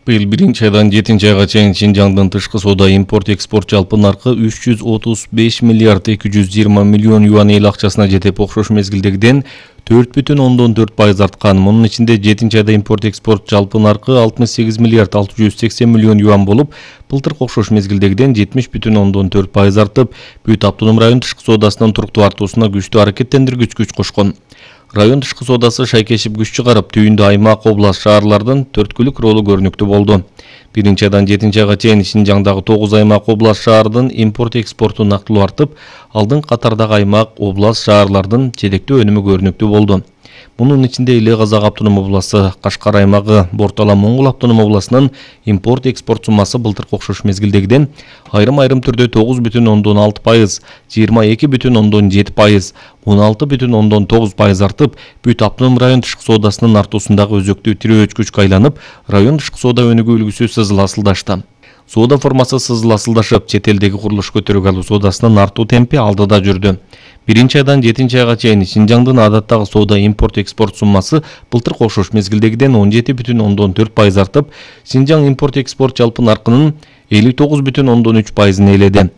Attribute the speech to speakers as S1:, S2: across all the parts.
S1: Быйыл 1-айдан 7-айга чейин Шинжаңдын тышкы соода импорт-экспорт жалпы наркы 335 миллиард 220 миллион юан эл акчасына жетип, окшош мезгилдегиден 4,4% арткан. Мунун ичинде 7-айда импорт-экспорт жалпы наркы 68 миллиард 680 миллион юан болуп, былтыркы окшош мезгилдегиден 70,4% артып, Бүт автоном район тышкы соодасынын туруктуу артуусуна күчтүү аракеттендиргич күч кошкон. Район тышкы соодасы шайкешип күч чыгарып, түйүндө аймак, область, шаарлардын төрткүлүк ролу көрүнүктүү болду. 1-айдан 7-айга чейин Шинжаңдагы 9 аймак, область, шаардын импорт-экспорту нактылуу артып, алдын катардагы аймак, область, шаарлардын жетектүү өнүмү көрүнүктүү болду. Мунун ичинде Эле Казак автоном областы, Кашкар аймагы, Бортала Моңгол автоном областынын импорт-экспорт суммасы былтыркы окшош мезгилдегиден айрым түрдө 9,6%, 22,7%, 16,9% артып, Бүт автоном район тышкы соодасынын артуусундагы өзөктүү тирөөч күчкө айланып, район тышкы соода өнүгүү үлгүсү сызыл асылдашты. Соода формасы сызыл асылдашып, чет элдеги курулуш көтөрүк алуу соодасынын артуу темпи алдыда жүрдү. 1-айдан 7-айга чейин Шинжаңдын адаттагы соода импорт-экспорт суммасы былтыркы окшош мезгилдегиден 17,4% артып, Шинжаң импорт-экспорт жалпы наркынын 59,3%ын ээледи.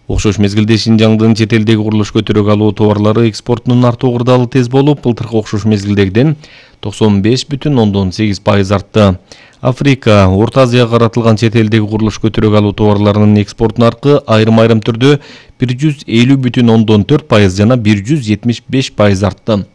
S1: Окшош мезгилде Шинжаңдын чет элдеги курулуш көтөрүк алуу товарлары экспортунун артуу кырдаалы тез болуп, былтыркы окшош мезгилдегиден 95,8% артты. Африка, Орто Азияга каратылган чет элдеги курулуш көтөрүк алуу товарларынын экспорт наркы айрым түрдө 150,4% жана 175% артты.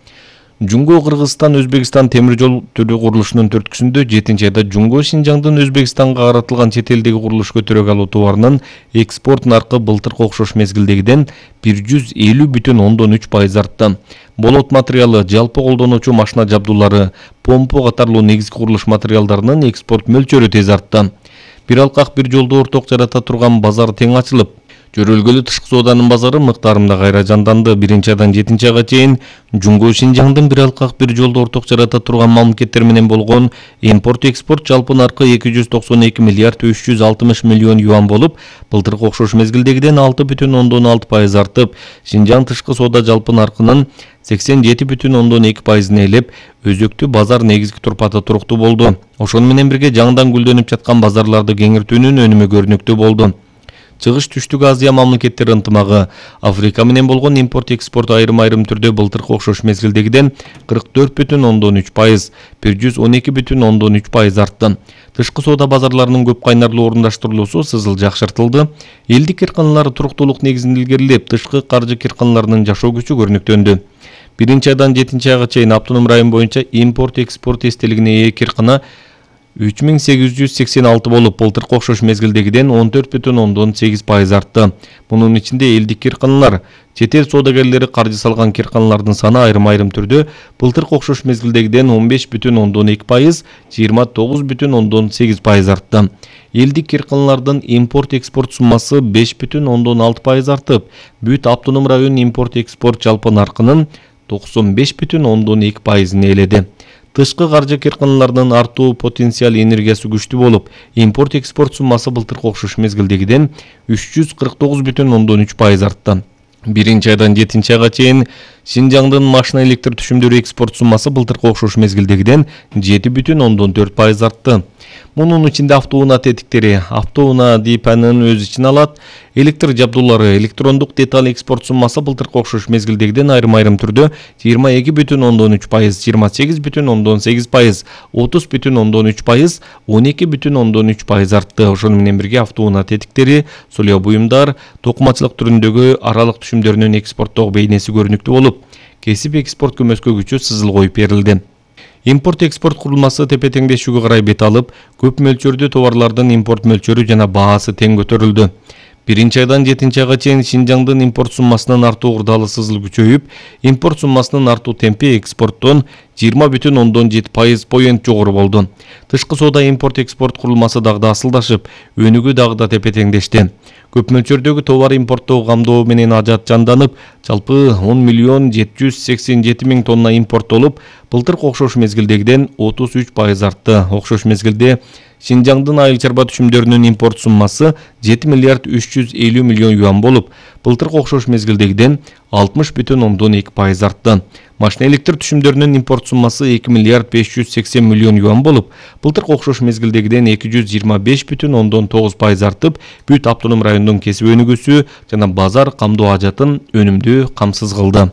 S1: Жунго Кыргызстан Өзбекстан темир жол түрү курулушунун төрткүсүндө 7-айда Жунго Шинжаңдын Өзбекстанга каратылган чет элдеги курулуш көтөрүк алуу товарынын экспорт наркы былтыркы окшош мезгилдегиден 150,3% артты. Болот материалы, жалпы колдонуучу машина жабдуулары, помпа катарлуу негизги курулуш материалдарынын экспорт мөлчөрү тез артты. Бир алкак бир жолду орток жарата турган базар тең ачылып, жөрөлгөлүү тышкы сооданын базары мыктарында кайра жанданды. 1-айдан 7-айга чейин Жунго Шинжаңдын бир алкак бир жолду орток жарата турган мамлекеттер менен болгон импорт-экспорт жалпы наркы 292 миллиард 360 миллион юан болуп, былтыркы окшош мезгилдегиден 6,6% артып, Шинжаң тышкы соода жалпы наркынын 87,2%ын ээлеп, өзөктүү базар негизги турпаты туруктуу болду. Ошону менен бирге жаңыдан гүлдөнүп жаткан базарларды кеңиртүүнүн өнүмү көрүнүктүү болду. Чыгыш түштүк Азия мамлекеттери ынтымагы, Африка менен болгон импорт-экспорт айрым түрдө былтыркы окшош мезгилдегиден 44,3%, 112,3% артты. Тышкы соода базарларынын көп кайнарлуу орундаштырылуусу сызыл жакшыртылды. Элдик кирканалар туруктуулук негизин илгерилеп, тышкы каржы кирканаларынын жашоо күчү көрүнүктөндү. 1-айдан 7-айга чейин автоном район боюнча импорт-экспорт эстелигине ээ киркана 3886 болуп, былтыркы окшош мезгилдегиден 14,8% артты. Мунун ичинде элдик кирканалар, чет эл соодагерлери каржы салган кирканалардын саны айрым түрдө былтыркы окшош мезгилдегиден 15,2%, 29,8% артты. Элдик кирканалардын импорт-экспорт суммасы 5,6% артып, Бүт автоном район импорт-экспорт жалпы наркынын 95,2%ын ээледи. Тышкы каржы кирканаларынын артуу потенциал энергиясы күчтүү болуп, импорт-экспорт суммасы былтыркы окшош мезгилдегиден 349,3% артты. 1-айдан 7-айга чейин Шинжаңдын машина электр түшүмдөрү экспорт суммасы былтыркы окшош мезгилдегиден 7,4% артты. Мунун ичинде автоунаа тетиктери, автоунаа дипанын өз ичине алат, электр жабдуулары, электрондук деталь экспорт суммасы былтыркы окшош мезгилдегиден айрым түрдө 22,3%, 28,8%, 30,3%, 12,3% артты. Ошону менен бирге автоунаа тетиктери, солио буюмдар, токумачылык түрүндөгү аралык түшүмдөрүнүн экспорттогу бейнеси көрүнүктүү болуп, кесип экспорт көмөскө күчү сызыл коюп берилди. Импорт-экспорт курулмасы тепе-теңдешүүгө карай бет алып, көп мөлчөрдө товарлардын импорт мөлчөрү жана баасы тең көтөрүлдү. 1-айдан 7-айга чейин Шинжаңдын импорт суммасынын артуу кырдаалы сызыл күчөйүп, импорт суммасынын артуу темпи экспорттон 20,7% поент жогору болду. Тышкы соода импорт-экспорт курулмасы дагы да асылдашып, өнүгүү дагы да тепе-теңдешти. Көп мөлчөрдөгү товар импорттоо камдоо менен ажат жанданып, жалпы 10,787,000 тонна импорттолуп, былтыркы окшош мезгилдегиден 33% артты. Окшош мезгилде Шинжаңдын айыл чарба түшүмдөрүнүн импорт суммасы 7 миллиард 350 миллион юан болуп, былтыркы окшош мезгилдегиден 60,2% артты. Машина электр түшүмдөрүнүн импорт суммасы 2 миллиард 580 миллион юан болуп, былтыркы окшош мезгилдегиден 225,9% артып, бүт автоном райондун кесип өнүгүүсү жана базар камдоо ажатын өнүмдүү камсыз кылды.